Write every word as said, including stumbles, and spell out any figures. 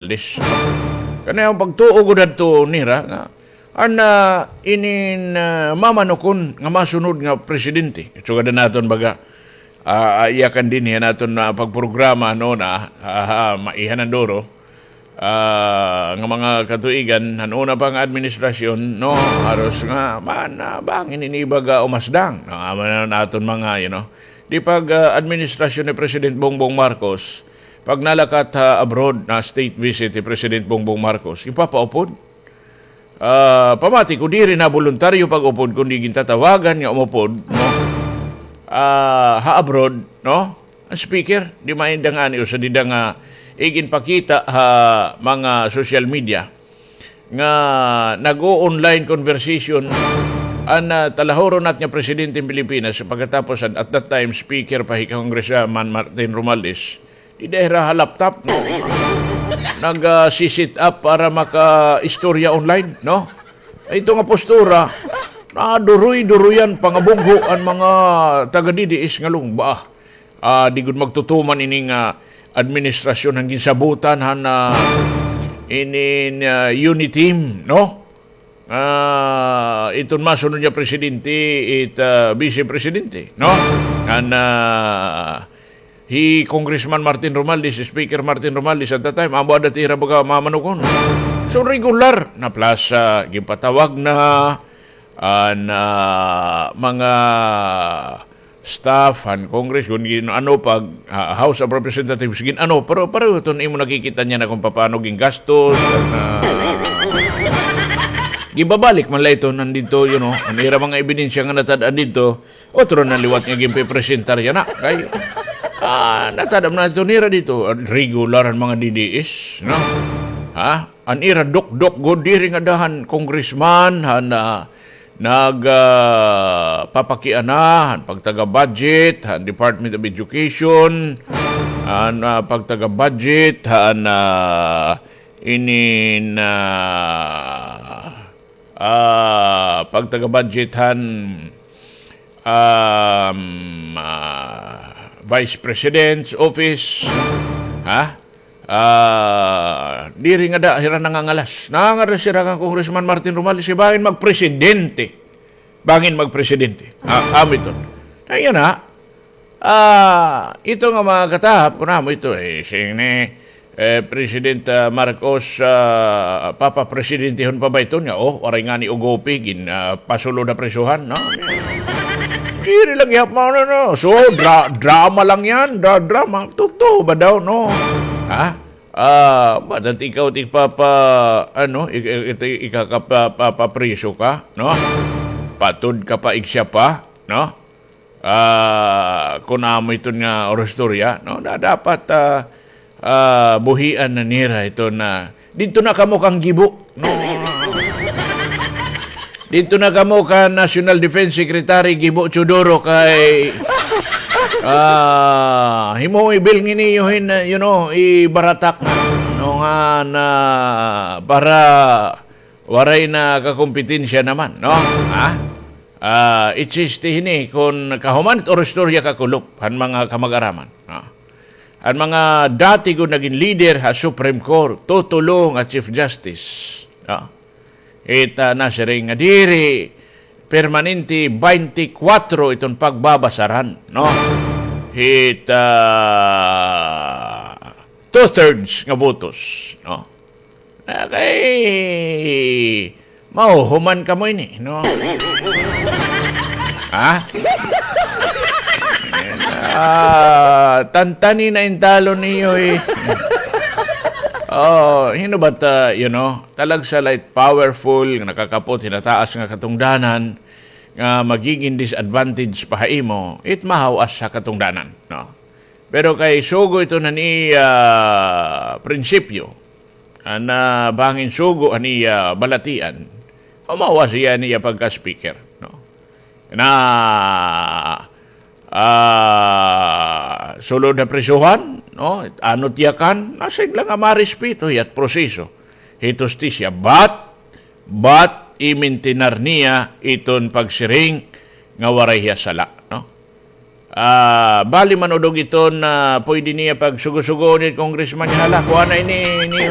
Romualdez. Kani an pagtuo gud hadto nira nga an, ah, inin, ah, mamanukon nga masunod nga presidente. Sugad naton baga, ah, iyakan dinhi han aton, ah, pagprograma, no, na, ah, maiha na duro, ah, nga mga katuigan, han una pa nga administrasyon, no, haros nga, man, ah, bangin ini baga umasdang. No, amo na an aton mga, you know, di pag, ah, administrasyon ni President Bongbong Marcos, pag nalakat ha abroad na state visit ni President Bongbong Marcos, ipapaupod. Ah, pamati ko, diri na boluntaryo pag-upod, kundi gintatawagan nga umupod, no? Ah, ha abroad, no? An speaker, di mainda ngani usa dida nga iginpakita ha mga social media nga nag-o-online conversation an, ah, talahuron nat nga presidente hin Pilipinas, pagkatapos an, at that time, speaker pa hi Congressman Martin Romualdez. Dida hira ha laptop, no? Nag, ah, si-set up para makaistorya online, no? Ito nga postura, naduroy-duroyan, pangabugho an mga taga-D D S nga lungba. Ah, di gud magtutuman ini nga administrasyon han ginsabutan han, ah, inin, ah, Uniteam, no? Ah, iton masunod nga presidente, it, ah, vice presidente, no? An, ah, hi Congressman Martin Romualdez, Speaker Martin Romualdez at that time, amo ada it ira baga mamanukon. So, regular na plaza, ginpatawag na an, ah, mga staff han Congress, kun gin-ano pag, ah, House of Representatives, gin-ano, pero pareho iton imo nakikita niyan na kung papaano gingastos, an, ah, ginbabalik man la iton didto, you know, an ira mga ebidensya nga natad-an didto, otro na liwat nga ginpipresentar yana. Kay, ah, natad-an man iton nira didto, regular an mga D D S, no? Ha? An ira dokdok gud diri ngada han congressman, han, ah, nag, ah, papakiana han pagtaga-budget han Department of Education, han, ah, pagtaga-budget han, ah, inin, ah, ah, pagtaga-budget han, um, ah, Vice President's Office, ha? Ah, diri ngada hira nangangalas. Nangangalas hira kan Congressman Martin Romualdez, bangin magpresidente. Bangin magpresidente. Ah, amo iton. Ayan na. Ah, ito nga mga katahap, kun amo ito, eh, sini, eh, President, ah, Marcos, ah, papapresidentehon pa ba iton nga, oh, waray ngani ugopi, gin, ah, pasulod ha prisohan, no? Diri lang gihap mao na, no? So, dra-, drama lang yan, dra-, drama. Totoo ba daw, no? Ha? Ah, batat ikaw it igpapa-, ano, ik-, ik-, ik-, ikakapa-, papapriso ka, no? Patud ka pa, igsiya pa, no? Ah, kun amo iton nga orostorya, no? Da-, dapat, ah, ah, buhian na nira iton, didto na kamo kan gibo, no? Didto na kamo kan National Defense Secretary Gibo Teodoro kay, ah, himo ibilngin niyo hin, you know, ibaratak na, no, nga na para waray na kakompetensya naman, no? Ha? Ah, itsiste hini kun kahuman it orostorya kakulop han mga kamag-araman, no? An mga dati gud nagin leader ha Supreme Court, tutulo nga Chief Justice, no? It, ah, nasiring nga diri permanente, baynte kwatro iton pagbabasaran, no? It, ah, two-thirds nga botos, no? Ah, kay mahuhuman kamo ini, no? Ha? Ah, tantani na intalon niyo, eh. Oh, hino ba ta, you know, talagsa la it powerful nga nakakapot hin taas nga katungdanan nga magigin disadvantage pa ha imo, it mahaw-as ha katungdanan, no? Pero kay sugo iton han iya prinsipyo, an, ah, bangin sugo han iya balatian, humawas hiya han iya pagka-speaker, no? Na, ah, sulod ha prisohan, no? Ano it yakan, nasiring la nga marespeto hiya it proseso hit hustisya. But, but, imintinar niya iton pagsiring nga waray hiya sala, no? Ah, bali man udog iton na pwede niya pagsugo-sugo ni Congressman niya, hala, kuha na ini, ini,